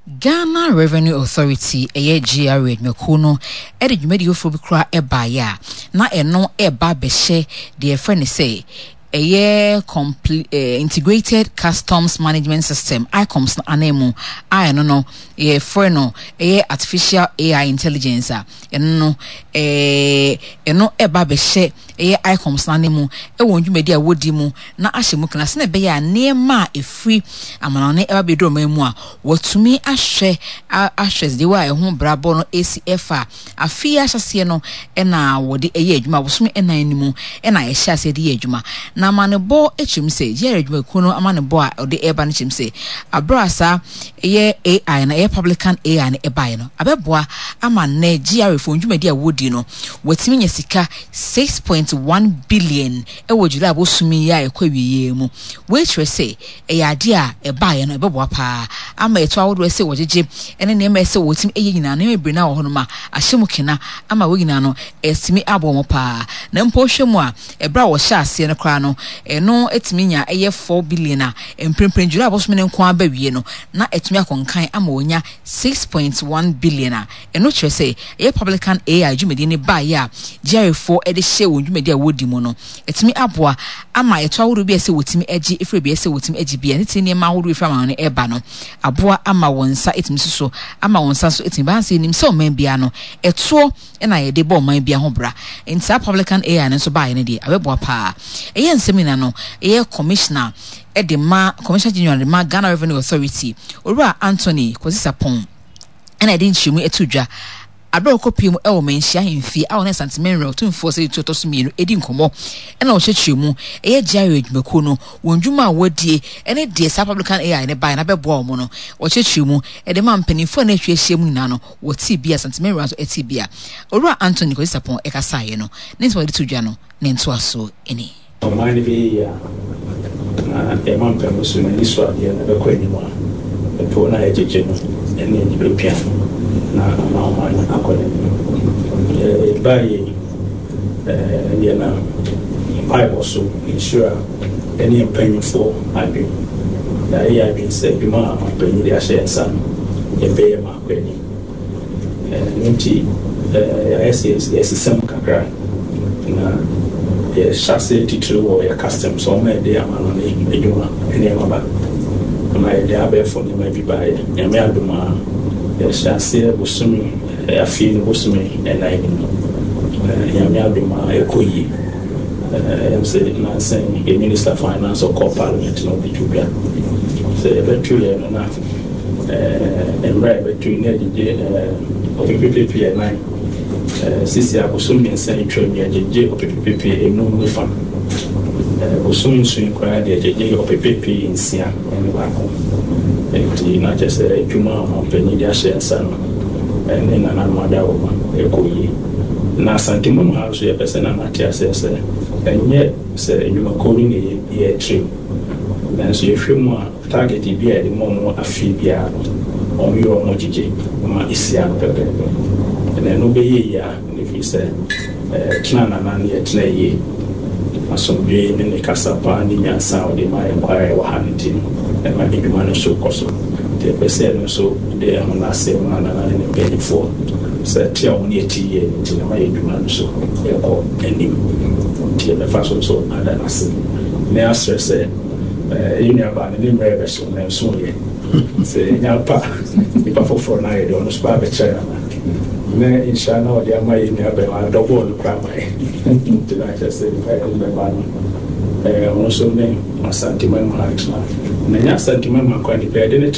Ghana Revenue Authority, ɛyɛ GRA adwumakuo no de dwumadie foforɔ bi koraa baeɛ a na ɛno reba abɛhyɛ deɛ yɛfrɛ no sɛ ɛyɛ comple eh, Integrated Customs Management System, ICOMS no ananmu a ɛno no yɛfrɛ no ɛyɛ Artificial AI Intelligence a ɛno no eh, ɛno ɛba abɛhyɛ ɛyɛ ICOMS no ananmu ɛwɔ dwumadi a wɔdi mu na ahyɛ mu kena sɛnea ɛbɛyɛ a nneɛma a ɛfiri amanɔne ɛba bɛduru ɔman mu a wɔatumi ahwɛ ahwɛ deɛ a ɛho brabɔ no ɛsi ɛfa. Afe yi ahyɛaseɛ no na wɔde yɛ adwuma, bosome nnan no mu na ɛhyɛ aseɛ de yɛ adwuma. Na amanebɔ kyerɛ mu sɛ, GRA adwumakuo no amanebɔ a ɔde reba no kyerɛ mu sɛ, aberɛ a saa ɛyɛ AI no, ɛyɛ Publican AI no ɛbaeɛ no, abɛboa ama nnɛ GRA foɔ dwumadi a wɔdi no, wɔatumi anya sika 6.1 billion wɔ July bosome yi a ɛkɔ awieeɛ mu. Wei kyerɛ sɛ, ɛyɛ adeɛ a ɛbaeɛ no ɛbɛboa paa ama ɛto ahodoɔ ɛsɛ wɔgyegye ne nneɛma ɛsɛ wɔtumi ɛyɛ nyinaa nneɛma bebree no wɔ hɔnom a ahyɛ mu kena ama wɔn nyinaa no ɛtumi aboa wɔn paa. Na mpo wohwɛ mu a, ɛberɛ a wɔhyɛ aseɛ no koraa no, ɛno ɛtumi nya ɛyɛ 4 billion a mprempren July bosome no nko ara ba wie no na ɛtumi akɔ nkan ama wɔnya 6.1 billion a ɛno kyerɛ sɛ ɛyɛ Publican AI dwumadie no baeɛ a GRA foɔ de hyɛɛ wɔn dwumadie a wɔdi mu no Ɛtumi aboa ama ɛtɔ ahodoɔ bi a ɛsɛ wɔtumi gye firi baabi a ɛsɛ wɔtumi gye bi a ne tiri nneɛma ahodoɔ ɛfiri amannɔne ɛreba no aboa ama wɔn nsa ɛtumi si so ama wɔn nsa nso ɛtumi ba. Sɛ yɛnim sɛ ɔman biara no ɛtoɔ na yɛde bɔ ɔman biara ho bra nti saa Publican AI no nso baeɛ no deɛ abɛboa paa. Ɛyɛ nsɛm nyinaa no ɛyɛ Commissioner de ma Commissioner General de ma Ghana Revenue Authority Owura Anthony Kwasi Sarpong ɛna ɛde nkyerɛmu ɛto dwa. Bere a ɔkɔpuee mu wɔ Manhyia Ahemfie a ɔne Asante Menrɛ Otumfoɔ Osei Tutu Ɔtɔ So Mmienu redi nkɔmmɔ na ɔkyerɛkyerɛ mu, ɛyɛ GRA adwumakuo no, wɔn dwuma a wɔadie ne deɛ saa Publican AI no baeɛ no abɛboa wɔn no, ɔkyerɛkyerɛ mu de maa mpanimfoɔ a na atwa ahyia mu nyinaa no, wɔtee bi a Asante Menrɛ nso tee bi a Owura Anthony Kwasi Sarpong kasaeɛ no, ne nsɛm a ɔde too dwa no, ne ntoasoɔ nie. Ɔman no bɛyɛ yie a, na yɛn mampamu so no ani so adeɛ no bɛkɔ anim a, ɛtoɔ no a yɛgyegye no ne ani bɛpia na ama ɔman no akɔ n'anim. Yɛbaeɛ yi, yɛnam mpaebɔ so, nhyira ne yɛn mpanimfoɔ adwene. Yɛayɛ yɛn adwene sɛ adwuma a ɔmanpanin de ahyɛ yɛn nsa no, yɛbɛyɛ ma akɔ anim. Ɛno nti, yɛayɛ sɛ yɛsesa mu kakra, na yɛhyɛ aseɛ titiriw wɔ yɛn customs, wɔn a yɛde amanɔne adwuma nneɛma ba, na yɛde abɛɛfo nneɛma bi baeɛ. Nyame adom a, yɛhyɛ aseɛ bosome, afei no bosome nnan no mu. Nyame adom a, ɛkɔ yie. Ɛyɛ me sɛ nnansa yi, yɛn Minister Finance ɔkɔɔ Parliament na ɔde too dwa sɛ yɛbɛto yɛn no na Mmerɛ a yɛbɛto yi na yɛgyegye ɔpepepepe ɛnan. Sisi a bosom mmiɛnsa yi twam yɛgyegye ɔpepepepe enum ne fa. Bosom nson yi koraa deɛ yɛgyegye ɔpepepe nsia ne baako. Nti na kyerɛ sɛ adwuma a ɔmanpanin de ahyɛ yɛn nsa no ne nananom adaworoma ɛkɔ yie. Na Asante mu ha nso yɛpɛ sɛ Nana te aseɛ sɛ ɛnyɛ sɛ nnwumakuo no na yɛrekyerɛ mu nanso yɛhwɛ mu a, Target bi a yɛde ma wɔn afe biara no, wɔyɛ wɔn gyegye ma esi ano pɛpɛɛpɛ. Na ɛno bɛyɛ yie a, ɛfiri sɛ tena Nana no yɛ tena yie. Asomdwoe ne ne kasa pa ne nyansa a ɔde ma yɛn kwa a yɛwɔ ha no nti no, ɛma adwuma no nso kɔ so. Nti yɛpɛ sɛ ɛno nso de ɛho no ase ma Nana ne ne mpanimfoɔ sɛ te a wɔne yɛte yie no nti na ɛma yɛn adwuma no nso kɔ anim. Nti yɛbɛfa so nso ada no ase na yɛasrɛ sɛ, Yɛn nuabaa no, ne mmerɛ rebɛso, nanso ɔyɛ. Sɛ yɛnya pa nipa foforɔ no ayɛ deɛ, ɔno nso ba abɛkyerɛ Nana. Ne nhyira no a ɔde ama yɛn nuabɛma no, dɔbɔɔ no koraa ma yɛn. Nti na kyerɛ sɛ nipa yɛde no bɛba no, ɔno nso ne Asanteman mu ha ntena. Na ɛnyɛ Asanteman mu ha nko ara, nipa yɛde no tena.